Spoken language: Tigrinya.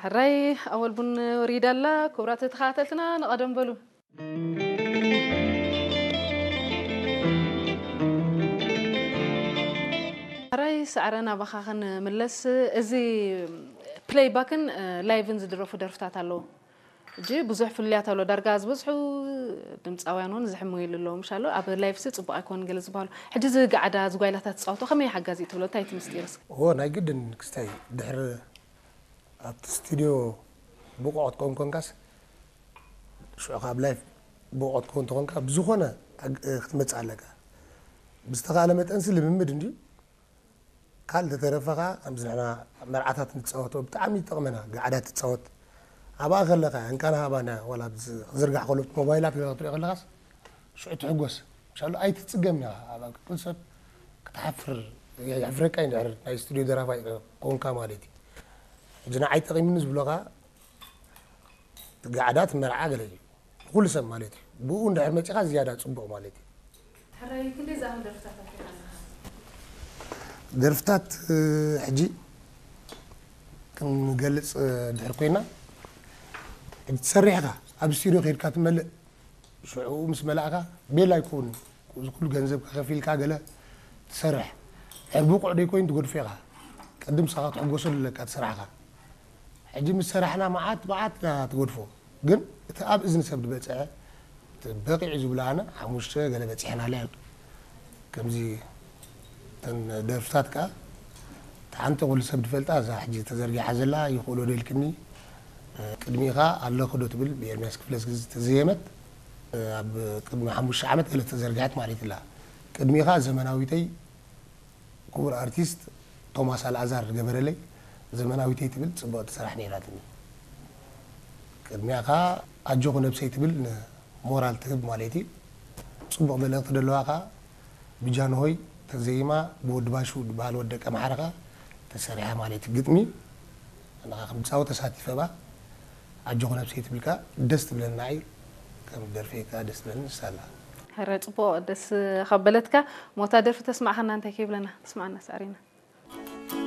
ሕራይ ኣወል ቡን ወሪዳ ኣላ። ክቡራት ተኸታተልትና ንቐደም በሉ። ሕራይ ሰዕረ ናባኻ ክንምለስ፣ እዚ ፕሌይባክን ላይቭን ዝድረፉ ደርፍታት ኣለዉ። እጂ ብዙሕ ፍልልያት ኣሎ። ዳርጋ ዝበዝሑ ድምፃውያን እውን ዝሕመይሉ ኣለዉ። ምሻሎ ኣብ ላይቭ ሲ ፅቡቅ ኣይኮን ገለ ዝበሃሉ። ሕጂ እዚ ጋዕዳ ዝጓይላታት ዝፃወቶ ከመይ ሓጋዚ ትብሎ? እንታይ እቲ ምስጢርስ? እዎ፣ ናይ ግድን ክስታይ ድሕሪ ኣብቲ ስቱድዮ ብቑዕ ክትከውን ኮንካስ፣ ሽዑ ካብ ላይፍ ብቑዕ ክትከውን ተኾንካ፣ ብዝኾነ ኣግ-፣ ክትመጽእ ኣለካ። ብዝተኻእለ መጠንሲ ልምምድ እንድዩ። ካልእ ተተረፈኻ፣ ከምዚ ንሕና መርዓታት ንጻወቶ፣ ብጣዕሚ ይጠቕመና፣ ጋዕዳ ትጻወት። ኣብኣ ከለኻ፣ እንቃና ሃባና፣ ዋላ ብዝ-፣ ክዝርጋሕ ከሎ፣ ሞባይላት ገለ ክትሪኦ ከለኻስ፣ ሽዑ ትሕጎስ። ምሻሉ ኣይትጽገምን ኢኻ። ኣብ፣ ኣብ ክል ሰብ ክትሓፍር፣ የሕፍረካ እዩ፣ እንድሕር ናይ ስቱድዮ ደራፋይ ኮንካ ማለት እዩ። ሕጂ ንዓይ ጠቒሙኒ ዝብሎ ኸኣ፣ እቲ ጋዕዳ፣ እቲ መርዓ ገለ እዩ። ንኹሉ ሰብ ማለት እዩ። ብኡ እንድሕር መጺኻ ዝያዳ ጽቡቕ ማለት እዩ። ሕራይ፣ ክንደይ ዝኣኽል ደርፍታት ኣውጺእካ ኣለኻ? ደርፍታት፣ እ፣ ሕጂ ክንገልጽ፣ እ፣ ድሕር ኮይና፣ ሕጂ ትሰርሕ ኢኻ፣ ኣብ ስቱድዮ ከይድካ ትመልእ፣ ሽዑ ምስ መላእካ ቤላ ኣይኮን፣ እዚ ኩሉ ገንዘብ ከፊልካ ገለ ትሰርሕ። ድሕር ብቑዕ ደይኮይን ትገድፎ ኢኻ። ቅድም ንስኻ ክትሕጎሰሉ ኣለካ እቲ ስራሕኻ። ሕጂ ምስ ሰራሕና መዓት መዓት ኢና ትገድፎ። ግን እቲ ኣብ እዝኒ ሰብ ዝበጽሐ፣ እቲ በቂዑ ዝብሎ ኣነ ሓሙሽተ ገለ በጺሕናላ። ከምዚ እተን ደርፍታት ከኣ፣ እታ ሓንቲ ኩሉ ሰብ ዝፈልጣ፣ እዛ ሕጂ ተዘርጊሓ ዘላ፣ ይኽእሎ ዶ ኢልክኒ፣ ቅድሚኻ ኣለኹ ዶ ትብል ብኤርምያስ ክፍለዝጊ ዝተዘየመት፣ ኣብ ቅድሚ ሓሙሽተ ዓመት ገለ ተዘርግሐት ማለት ኢላ። ቅድሚኻ ዘመናዊተይ ክቡር ኣርቲስት ቶማስ ኣልኣዛር ዝገበረለይ ዘመናዊተይ ትብል ጽብቕቲ ስራሕ ነይራትኒ። ቅድሚያ ከኣ ኣጆኹ ነብሰይ ትብል ንሞራል ትህብ ማለት እዩ። ጽቡቕ መልእኽቲ ዘለዋ ከኣ ብጃንሆይ ተዘይማ ብወዲ ባሹ ዝበሃል ወዲ ደቂ ኣምሓራ ከኣ ተሰሪሓ ማለት እዩ። ግጥሚ ንኻ ከም ጻወት ተሳቲፈ ባ ኣጆኹ ነብሰይ ትብል ከኣ ደስ ትብለና እዩ። ከም ደርፊ ከኣ ደስ ትብለኒ ንሳ ኣላ። ሕረ ጽቡቕ ደስ ካብ በለትካ፣ ሞታ ደርፊ ተስማዕኸና እንታይ ከይብለና? ስማዕና ሳዕሪና።